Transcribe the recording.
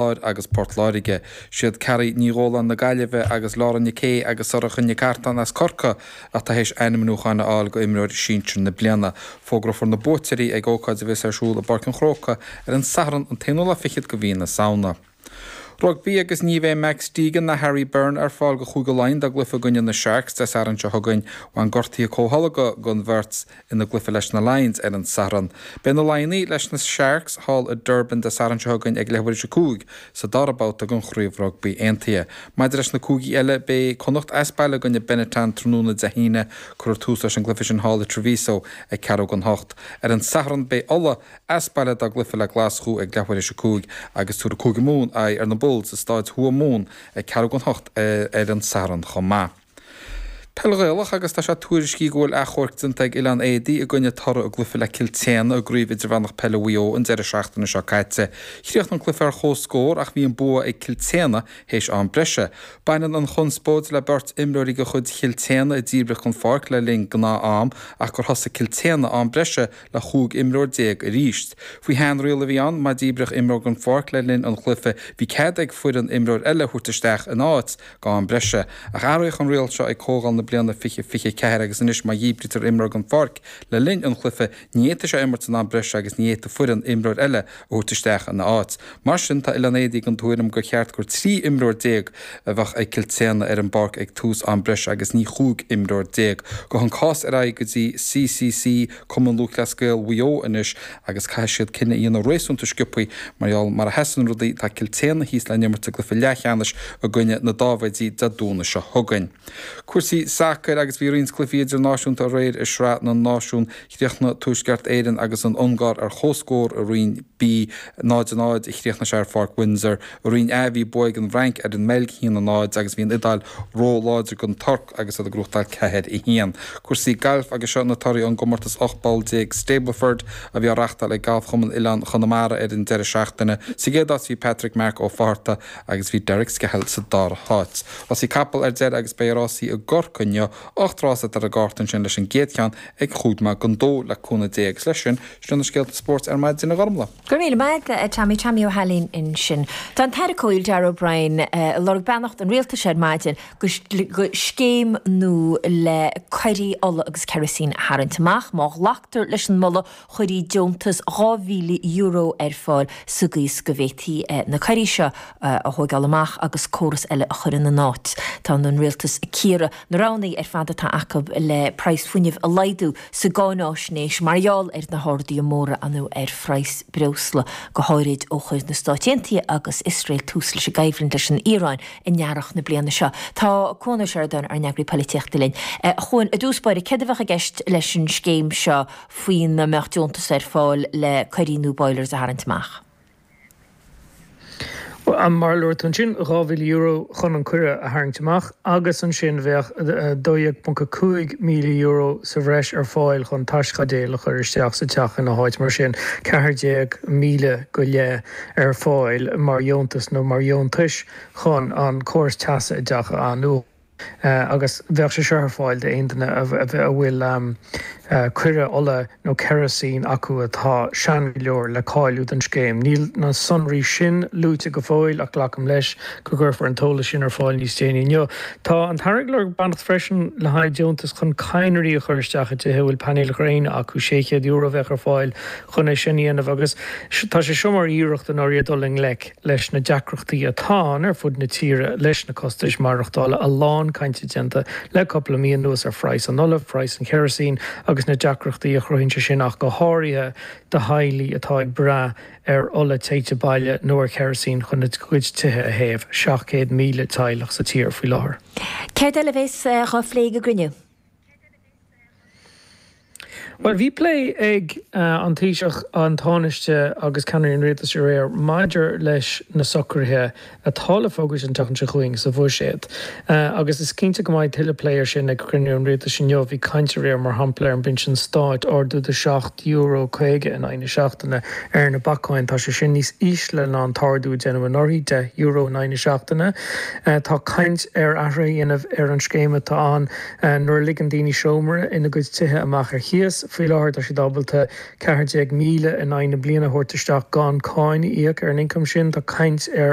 Láir agus Port Láirge. Siad Carrie Ní Dhóláin na Gaillimhe agus Laura Nic Aodha agus Sorcha Nic Artáin as Corcaigh atá théis ainmniúcháin a fháil go Imreoir Sinsir na Bliana. Fógrófar na buaiteoirí ag ócáid a bheas ar siúl i bPáirc an Chrócaigh ar an Satharn an t-aonú lá fichead go mhí na Samhna. Rugbaí agus ní bheidh Max Deegan ná Harry Byrne ar fáil go Chúige Laighean dá gcluiche i gcoinne na Sharks Dé Sathairn seo chugainn. Bhain gortuithe comhtholgtha don bheirt. ina gcluiche leis na Lions ar an Satharn. Beidh na Laighnigh leis na Sharks thall i Durban Dé Sathairn seo chugainn ag leathuair tar éis a 5 sa dara babhta den Chraobh Rugbaí Aontaithe. Maidir leis na cúigí eile, beidh Connacht as baile i gcoinne Benetton tráthnóna Dé hAoine. Cuirfear tús leis an gcluiche sin thall i Treviso ag ceathrú don hocht. Ar an Satharn beidh Ulaidh as baile dá gcluiche le Glaschú ag leathuair tar éis a 5 agus tabharfaidh Cúige Mumhan aghaidh ar na Bulls i Stáid Thuamhumhan ag ceathrú don hocht ar an Satharn chomh maith. Peil Ghaelach agus tá sé tuairiscithe go bhfuil achomharc déanta ag Oileán Éadaí i gcoinne toradh a gcluiche le Cill tSéadhna i gCraobh Idirmheánach Peile Mhaigh Eo an deireadh seachtaine seo caite. Chríochnaigh an cluiche ar chomhscór ach bhí an bua ag Cill tSéadhna théis am breise. Baineann an chonspóid le beirt imreoirí de chuid Chill tSéadhna a díbríodh den pháirc le linn gnáth-am ach gur thosaigh Cill tSéadhna am breise le 15 imreoir arís. Faoi sheanriail a bhí ann, má díbríodh imreoir den pháirc le linn an chluiche bhí cead ag foireann imreoir eile a thabhairt isteach ina áit. go am breise. Ach athraíodh an riail seo ag comhdháil na bliana 2024 agus anois má dhíbrítear imreoir den pháirc le linn an chluiche, ní fhéadfaidh sé imirt san am breise agus ní fhéadfaidh foireann imreoir eile a thabhairt isteach ina áit. Mar sin, tá Oileán Éadaí den tuairim gur cheart gur 13 imreoir a bheadh ag Cill tSéadhna ar an bpáirc ag tús am breise agus ní 15 imreoir. Gabhfaidh an cás ar aghaidh go dtí CCC, Cumann Lúthchleas Gael Mhaigh Eo anois agus caithfidh siad cinneadh a dhéanamh réasúnta sciobtha mar gheall mar a sheasann rudaí tá Cill tSéadhna thíos le n-imirt i gcluiche leathcheannais i gcoinne na Dáibhéidí Dé Domhnaigh seo chugainn. Cúrsaí sacair agus bhí roinnt cluichí idirnáisiúnta aréir i Sraith na Náisiún. Chríochnaigh Tuaisceart Éireann agus an Ungáir ar chomhscór i Roinn B, 0-0 a chríochnaigh sé ar Pháirc Windsor. I Roinn A bhí bua ag an bhFrainc ar an mBeilg, 1-0, agus bhí an Iodáil ró-láidir don Tuirc agus iad ag gnóthachtáil 4-1. Cúrsaí gailf agus seo na torthaí ón gcomórtas 18 bpoll Stableford a bhí á reachtáil ag Galfchumann Oileán Chonamara ar an deireadh seachtaine. Sa gcéad áit bhí Patrick Mark Ó Fátharta agus bhí Derek Skehill sa dara háit. Rásaí capall ar deireadh agus beidh rásaí i gCorcaigh inniu, 8 rás atá ar an gcárta ansin leis an gcéad cheann ag chúig nóiméad don dó le cúnamh Dé agus leis sin, sin na scéalta spóirt ar maidin a Ghormlaith. Go raibh míle maith agat a Tommy, Tommy Ó hAilín ansin. Tá an tAire Comhshaoil Darragh O'Brien ag lorg beannacht an Rialtais ar maidin go scéim nua le coirí ola agus kerosene a tharraingt amach. Má ghlactar leis an moladh, chuirfí deontas €2,000 ar fáil sa gcaoi is go bhféadfaí na coirí seo a thóigeáil amach agus córas eile a chur ina n-áit. Tá an Rialtas ag cíoradh na roghanna ar fad atá acu le praghas fuinnimh a laghdú sa gcáináisnéis mar gheall ar na harduithe móra ann ar phraghas breosla, go háirid ó chuir na Stáit Aontaithe agus Iosrael tús leis an gcoimhlint leis an Iaráin in earrach na bliana seo. Tá Cuan Ó Seireadáin, ár n-eagraí polaitíochta linn. A Chuain, i dtús báire, céard a bheadh i gceist leis an scéim seo faoina mbeadh deontas ar fáil le coirí nó boilers a tharraingt amach? Bhuel, mar a luaigh tú ansin, €2,000 chun an coire a tharraingt amach agus ansin bheadh €12.5 míle sa bhreis ar fáil chun taischaidéal a chur isteach sa teach ina háit. Mar sin, 14,000 go leith ar fáil mar dheontas nó mar dheontais chun an córas teasa i dteach a athnuachan. Agus bheadh sé seo ar fáil d'aon duine a bhfuil coire ola nó kerosene acu atá sean go leor le cáiliú don scéim. Níl na sonraí sin luaite go fóill ach glacaim leis go gcuirfear an t-eolas sin ar fáil níos déanaí inniu. Tá an tAire ag lorg beannacht freisin le haghaidh deontas chun cadhnraí a chur isteach i dtithe a bhfuil painéil ghréine acu. €600 a bheadh ar fáil chun é sin a dhéanamh agus tá sé seo mar iarracht i ndáiríre dul i ngleic leis na deacrachtaí atá ann ar fud na tíre leis na costais maireachtála, a lán cainte déanta le cúpla mí anuas ar phraghas an ola, praghas an kerosene agus na deacrachtaí a chruthaíonn sé sin ach go háirithe do theaghlaigh atá ag brath ar ola téite baile nó ar kerosene chun a gcuid tithe a théamh, 700,000 teaghlach sa tír faoi láthair. Céard eile a bheas á phlé ag an gcruinniú? Bhuel, bhí plé ag an Taoiseach, an Tánaiste agus ceannairí an Rialtais aréir maidir leis na socruithe atá le fógairt an tseachtain seo chugainn sa Bhuiséad. Agus is cinnte go mbeidh tuilleadh plé air sin ag cruinniú an Rialtais inniu. Bhí caint aréir, mar shampla, ar an bpinsean stáit, ardú de €7.50 in aghaidh na seachtaine ar na bacáin. Tá sé sin níos ísle ná an t-ardú a déanadh anuraidh, €10 in aghaidh na seachtaine. Tá caint ar athruithe a dhéanamh ar an scéim atá ann. Nuair a ligeann daoine seomra ina gcuid tithe amach ar chíos. Faoi láthair tá siad ábalta 14,000 in aghaidh na bliana a thabhairt isteach gan cáin a íoc ar an ioncam sin. Tá caint ar.